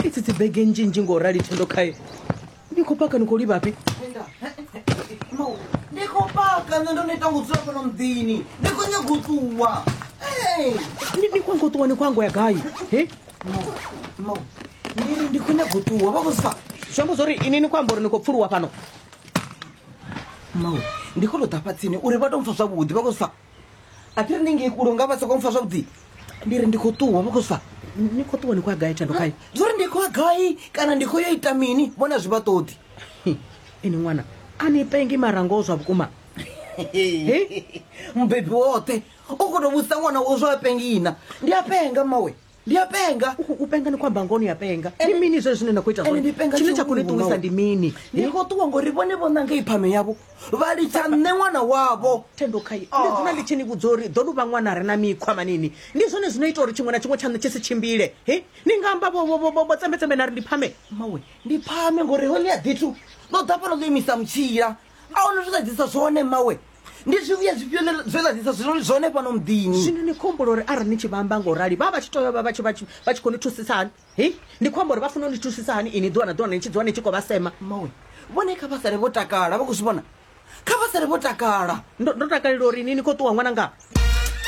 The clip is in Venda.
Idzi dzi bege nnzhi-nnzhi ngo rali Thendo khae. Ni khou paka ni khou livhafhi? Mau, ndi khou paka nṋe ndo neta ngo dzula fhano muḓini ndi khou nyaga u ṱuwa. Hey! Ni khou ngo ṱuwa ni khou ango ya gai? He? Mau, mau, ndi ri ndi khou nyaga u ṱuwa vha khou zwi pfa. Zwi amba zwori ini ni khou amba uri ni khou pfuluwa fhano? Mau, ndi khou tou ḓa fha tsini uri vha tou mpfa zwavhuḓi vha khou zwi pfa. A thi ri ni ngei kule nga vha sokou mpfa zwavhuḓi. Ndi ri ndi khou ṱuwa vha khou zwi pfa. Ni khou ṱuwa ni khou ya gai Thendo khae? Zwori ndi khou ya gai kana ndi khou yo ita mini vhone a zwi vha ṱoḓi. Ini ṅwana a ni pengi mara ngoho zwa vhukuma. He? Mubebi woṱhe u khou tou vhudzisa ṅwana wawe zwa a pengina. Ndi a penga mmawe, ndi a penga. U penga ni khou amba ngoho ni a penga. Ndi mini zwezwi zwine na khou ita Ende zwone? ndi penga Tshine tsha khou ni tshihulu, ṱuwisa mmawe. ndi mini? Ndi khou ṱuwa ngori vhone vho ṋanga i phame yavho vha litsha nṋe ṅwana wavho. Thendo khai ndi dzula ndi tshi ni vhudza uri ḓo luvha ṅwana a re na mikhwa manini. Ndi zwone zwino ita uri tshiṅwe na tshiṅwe tshaṋu tshi si tshimbile. He? Ni nga amba vho vho vho vho tsembe-tsembe na ri ndi phame. Mmawe, ndi phame ngori hoḽia ḓithu ḽo ḓa fhano ḽo imisa mutshila. A huna zwe ḽa ḓisa zwone mmawe. Ndi zwivhuya zwifhio zwe ḽa ḓisa zwone fhano muḓini? Zwino ni khou humbula uri arali ni tshi vha amba ngo rali vha vha tshi tea u vha vha tshi vha tshi vha tshi khou ni thusisa hani? He? Ndi khou amba uri vha funa u ni thusisa hani ini ḓuvha na ḓuvha ni tshi dzula ni tshi khou vha sema? Mmawe, vhone kha vha sale vho takala, vha khou zwi vhona? Kha vha sale vho takala. Ndo ndo takalela uri ini ni khou ṱuwa ṅwananga.